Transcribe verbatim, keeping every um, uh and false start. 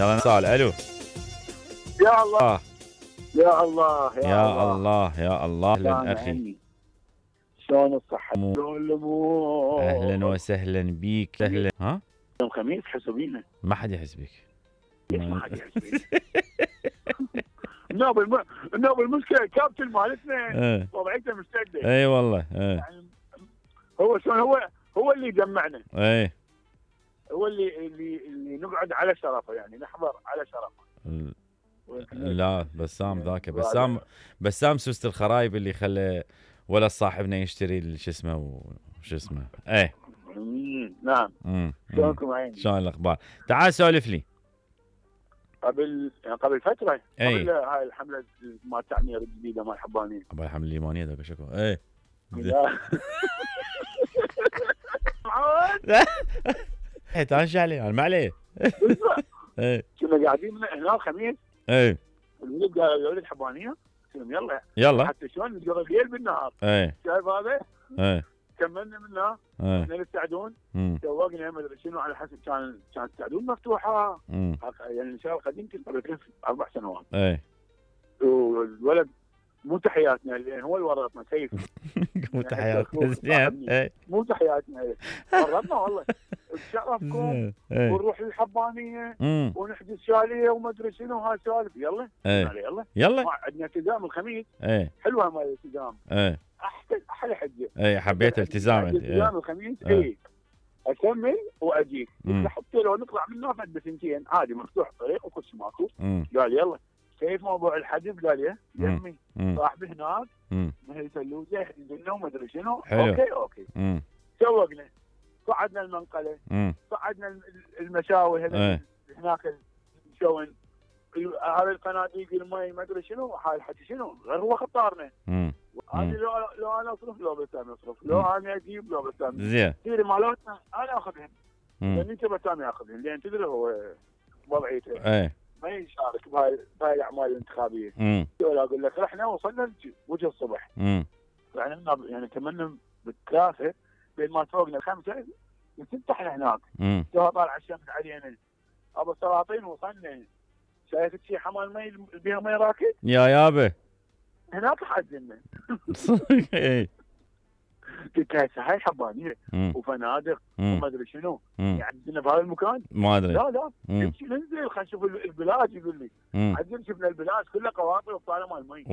يلا نسال. الو. يا الله آه. يا الله يا, يا الله يا الله. اهلا اخي. عني. شلون الصحة؟ شلون الامور؟ اهلا وسهلا بيك. اهلا. ها؟ يوم خميس حسوا بينا. ما حد يحس بك. ليش ما حد يحس بينا؟ النوب الم... النوب المشكلة الكابتن مالتنا ايه وضعيته مستعدة. اي والله. ايه يعني هو شلون هو هو اللي يجمعنا. ايه هو اللي اللي اللي نقعد على شرفه، يعني نحضر على شرفه. لا بسام ذاك بسام بسام سوست الخرايب اللي خلى ولا صاحبنا يشتري شو اسمه وش اسمه. ايه امم نعم. امم شلونكم عيني؟ شلون الاخبار؟ تعال سولف لي. قبل يعني قبل فترة أي. قبل هاي الحملة مال التعمير الجديدة مال حبانية. ابغى الحمل الليمونيه ذاك شكو. ايه لا. ايه تانش عليه انا ما عليه. ايه كنا قاعدين هنا الخميس. ايه الولد قال الولد حبانية، قلت لهم يلا يلا. حتى شلون نقضي الليل بالنهار. ايه شايف هذا؟ ايه كملنا منها. ايه احنا السعدون امم سوقنا ما ادري شنو على حسب كان كانت السعدون مفتوحه. امم يعني الشارع القديم كنت قبل ثلاث اربع سنوات. ايه والولد مو تحياتنا لان هو اللي ورطنا كيف. مو تحياتنا زين. ايه مو تحياتنا ورطنا والله. بشرفكم ايه ونروح للحبانيه امم ونحجز شاليه وما ادري شنو هاي سوالف. يلا ايه يلا يلا. ما عندنا التزام الخميس. ايه حلوه مال الالتزام. ايه احسن احلى حجه. ايه حبيت التزام انت. التزام ايه الخميس. ايه. اي اكمل واجيك. مم. حتى لو نطلع من نافذ بسنتين عادي مفتوح الطريق وكل شيء ماكو. امم قال يلا كيف موضوع الحجز؟ قال يا مم. يمي امم صاحبي هناك امم من الفلوزه يحجز لنا وما ادري شنو. حلو. اوكي اوكي امم سوقنا. صعدنا المنقله، امم صعدنا الم- المشاوي هذا ايه هناك شلون هذه القناديق المي ما ادري شنو هاي الحكي شنو غير هو خطارنا. امم هذه مم. لو لو انا اصرف لو بسام يصرف، لو مم. انا اجيب لو بسام زين. كثير مالاتنا انا اخذهم امم لان انت بسام ياخذهم لان تدري هو وضعيته ايه ما يشارك بهاي بهاي الاعمال الانتخابيه. امم ولا اقول لك رحنا وصلنا وجه الصبح امم يعني يعني كملنا بالثلاثه بين ما فوقنا الخمسه وسته احنا هناك. امم تو طالع الشمس علينا ابو السلاطين وصلنا. شايف شي حمال مي بيها مي راكد يا يابا. هناك حزنا. ايه قلت هسه هاي حبانيه امم وفنادق امم وما ادري شنو امم يعدنا بهذا المكان. ما ادري. لا لا امم نمشي ننزل خلينا نشوف البلاد. يقول لي امم عدل شفنا البلاد كلها قواطع وطالع مال مي.